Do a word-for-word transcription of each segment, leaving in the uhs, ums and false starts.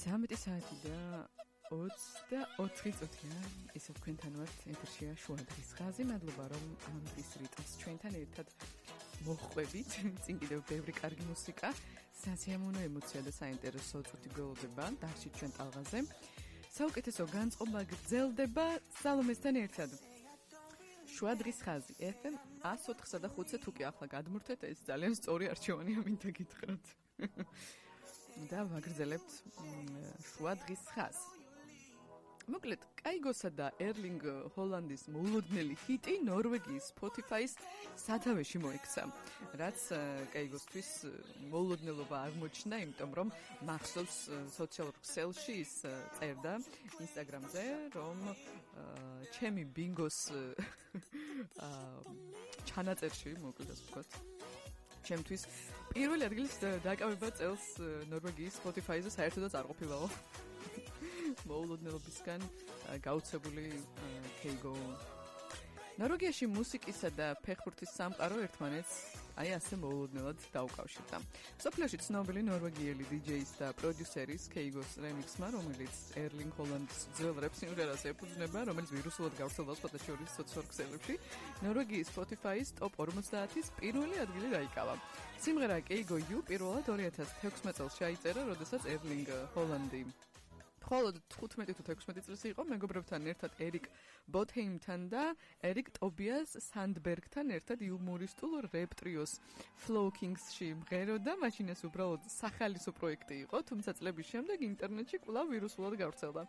სამი საათი და ოცდაოთხი წუთია, ისე თქვენთან ვართ, ეთერშია შუა დღის ხაზი. მადლობა რომ ამ დღის რიტმს ჩვენთან ერთად მოხვევით. წინ კიდევ ბევრი კარგი მუსიკა, სასიამოვნო ემოცია და საინტერესო წუთი გველოდება დარჩით ჩვენ ტალღაზე. საუკეთესო განწყობა გრძელდება სალომესთან ერთად. შუა დღის ხაზი ეფ ემ εκατს ოთხსა და ხუთზე თუ კი ახლა გადმურთეთ, ეს ძალიან სწორი არჩევანია, მინდა გითხრათ. და ვაგრძელებთ შუა დღის ხაზს. მოკლედ, კაიგოსა და ერლინგ ჰოლანდის მოულოდნელი ჰიტი ნორვეგიის Spotify-ის სათავეში მოექცა, რაც კაიგოსთვის მოულოდნელობა აღმოჩნდა, იმიტომ რომ მახსოვს სოციალურ ქსელში ის წერდა Instagram-ზე, რომ ჩემი ბინგოს ჩანაწერში, მოკლედ ასე ვთქვათ, ჩემთვის პირველი ადგილის დაკავება წელს ნორვეგიის Spotify-ზე საერთოდაც არ ყოფილაო. მოულოდნელობისგან გაუცებული კეიგო. ნორვეგიაში მუსიკისა და ფეხბურთის სამყარო ერთმანეთს აი ასე მოულოდნელად დაუკავშირდა. სოფლიოში ცნობილი ნორვეგიელი დი-ჯეის და პროდიუსერის კეიგოს რემიქსმა, რომელიც ერლინგ ჰოლანდის ძველ რეპ სიმღერას ეფუძნება, რომელიც ვირუსულად გავრცელდა სხვადასხვა სოციალურ ქსელებში, ნორვეგიის Spotify-ის ტოპ ორმოცდაათის პირველი ადგილი დაიკავა. სიმღერა კეიგო იუ პირველად ორი ათას თექვსმეტ წელს ჩაიწერა, როდესაც ერლინგ ჰოლანდი მხოლოდ თხუთმეტი თუ თექვსმეტი წლის იყო, მეგობრებთან ერთად ერიკ ბოთჰეიმთან და ერიკ ტობიას სანდბერგთან ერთად იუმორისტულ რეპ ტრიოს Flow Kings-ში მღეროდა, მაშინ ეს უბრალოდ სახალისო პროექტი იყო, თუმცა წლების შემდეგ ინტერნეტში კვლავ ვირუსულად გავრცელდა.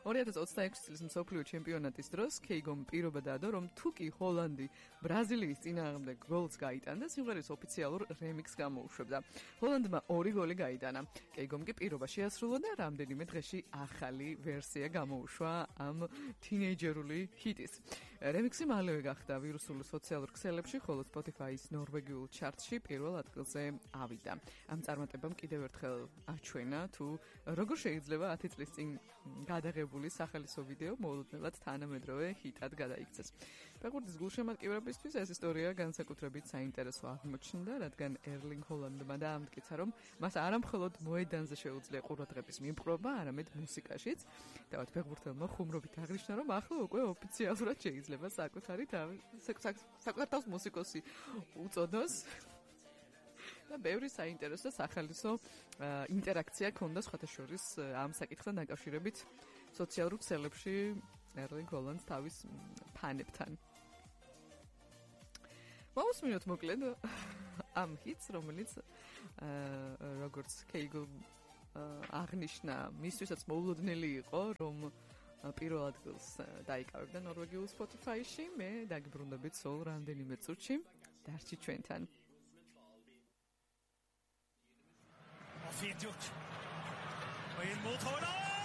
ორი ათას ოცდაექვსი წლის მსოფლიო ჩემპიონატის დროს კეიგომ პირობა დადო, რომ თუ კი ჰოლანდი ბრაზილიის წინააღმდეგ გოლს გაიტანდა, სიმღერის ოფიციალურ რემიქსს გამოუშვებდა. ჰოლანდმა ორი გოლი გაიტანა. კეიგომ კი პირობა შეასრულა და რამდენიმე დღეში ახალი ვერსია გამოუშვა ამ თინეიჯერული ჰიტის. რემიქსი მალევე გახდა ვირუსულ სოციალურ ქსელებში, ხოლო Spotify-ის ნორვეგიულ ჩარტში პირველ ადგილზე ავიდა. ამ წარმატებამ კიდევ ერთხელ აჩვენა, თუ როგორ შეიძლება ათი წლის წინ გადაღებული სახალისო ვიდეო მოულოდნელად თანამედროვე ჰიტად გადაიქცეს. ფეხბურთის გულშემატკივრებისთვის ეს ისტორია განსაკუთრებით საინტერესო აღმოჩნდა, რადგან ერლინგ ჰოლანდმა დაამტკიცა, რომ მას არა მხოლოდ მოედანზე შეუძლია ყურადღების მიპყრობა, არამედ მუსიკაშიც. დავით ფეხბურთელმა ხუმრობით აღნიშნა, რომ ახლა უკვე ოფიციალურად შეიძლება საკუთარი საკუთარ თავს მუსიკოსი უწოდოს. და ბევრი საინტერესო სახალისო ინტერაქცია ქონდა სხვათა შორის ამ საკითხთან დაკავშირებით სოციალურ ქსელებში ერლინგ ჰოლანდს თავის ფანებთან. მოусმინოთ მოკლედ ამ ჰიტს, რომელიც როგორც კეიგო აღნიშნა, მისთვისაც მოულოდნელი იყო, რომ პირველ ადგილს დაიკავებდა ნორვეგიულ Spotify-ში. მე დაგიბრუნდებით სულ რამდენიმე წუთში. დარჩით ჩვენთან. Og fint gjort. Og ind mod Tøjler.